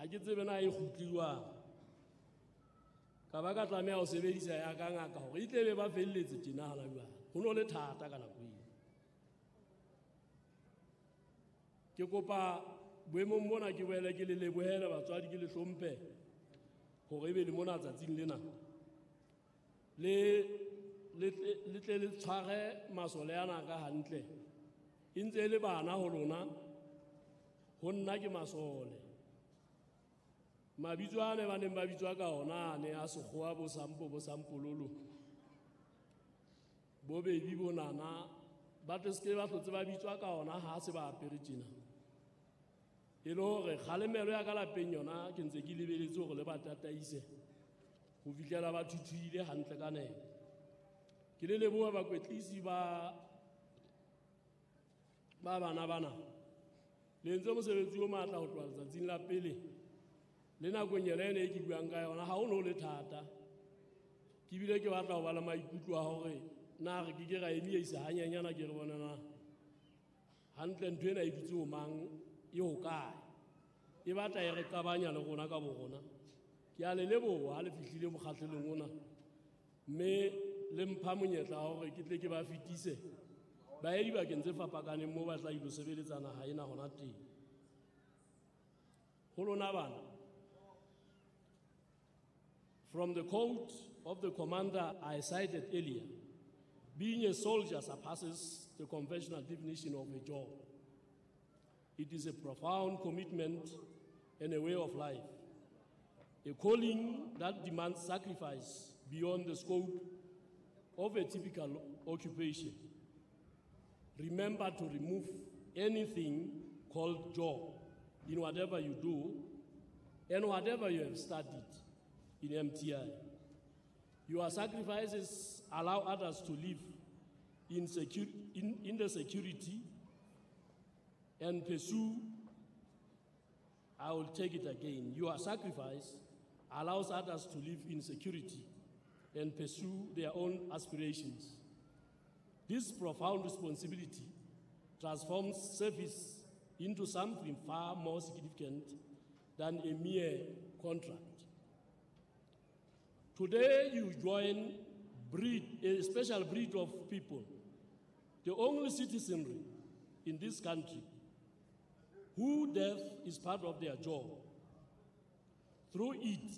Ha ke tsebe na e kgutle jwang. Ka ba ka tlameha ho sebedisa ya ka ngaka hore e tle be ba felletse tjena hana jwale. Ho no le thata ka nako eo. Ke kopa boemong bona ke boele ke le lebohele batswadi, ke le hlomphe hore ebe le mona tsatsing lena. Le tle le tshware masole ana ka hantle. E ntse e le bana ho lona, ho nna ke masole. Mabitso a ne ba neng ba bitswa ka ona a ne a sekgowa bo Sampo, bo Sampololo, bo Baby, bo Nana, ba tle se ke ba hlotse ba bitswa ka ona ha se ba apere tjena. E le hore kgalemelo ya ka lapeng yona ke ntse ke lebeletse hore le ba tataise ho fihlela ba thuthuhile hantle ka nepo. Ke le leboha bakwetlisi ba bana bana. Le entse mosebetsi o matla ho tloha letsatsing la pele le nakong yona ena e ke buang ka yona, ha ho no le thata. Ke bile ke batla ho ba le maikutlo a hore na re ke ke ra emisa hanyenyana ke re bona na hantle ntho ena e dutse ho mang, e ho kae. E batla e re qabanya le rona ka bo rona. Ke a le leboha ha le fihlile mokgahlelong ona, mme le mpha monyetla wa hore ke tle ke ba fetise ba ye dibakeng tse fapakaneng moo ba tla ilo sebeletsa naha ena hona teng. Ho lona bana, from the quote of the commander I cited earlier, being a soldier surpasses the conventional definition of a job. It is a profound commitment and a way of life, a calling that demands sacrifice beyond the scope of a typical occupation. Remember to remove anything called job in whatever you do and whatever you have studied in MTI. Your sacrifices allow others to live in the security and pursue. I will take it again. Your sacrifice allows others to live in security and pursue their own aspirations. This profound responsibility transforms service into something far more significant than a mere contract. Today you join a special breed of people, the only citizenry in this country who death is part of their job. Through it,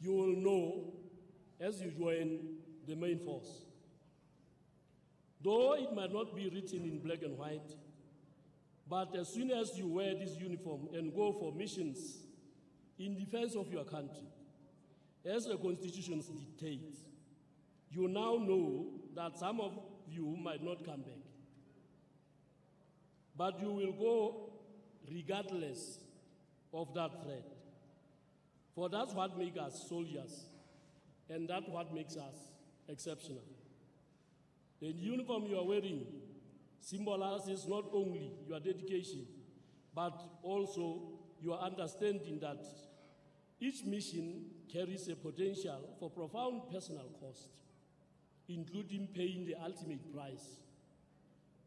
you will know as you join the main force. Though it might not be written in black and white, but as soon as you wear this uniform and go for missions in defense of your country, as the Constitution dictates, you now know that some of you might not come back. But you will go regardless of that threat. For that's what makes us soldiers, and that's what makes us exceptional. The uniform you are wearing symbolizes not only your dedication, but also your understanding that each mission carries a potential for profound personal cost, including paying the ultimate price,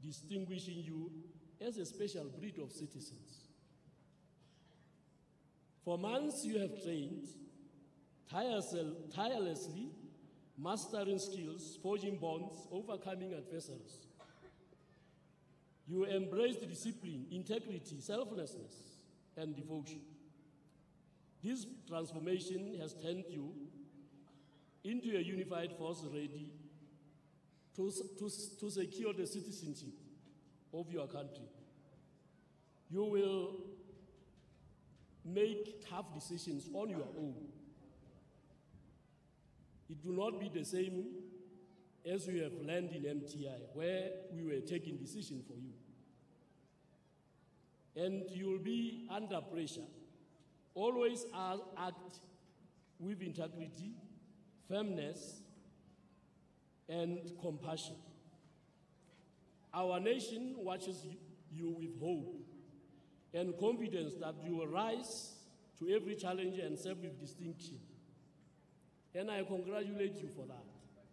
distinguishing you as a special breed of citizens. For months you have trained tirelessly, mastering skills, forging bonds, overcoming adversaries. You embraced discipline, integrity, selflessness, and devotion. This transformation has turned you into a unified force ready to secure the citizenship of your country. You will make tough decisions on your own. It will not be the same as you have learned in MTI, where we were taking decisions for you. And you will be under pressure. Always act with integrity, firmness, and compassion. Our nation watches you with hope and confidence that you will rise to every challenge and serve with distinction. And I congratulate you for that.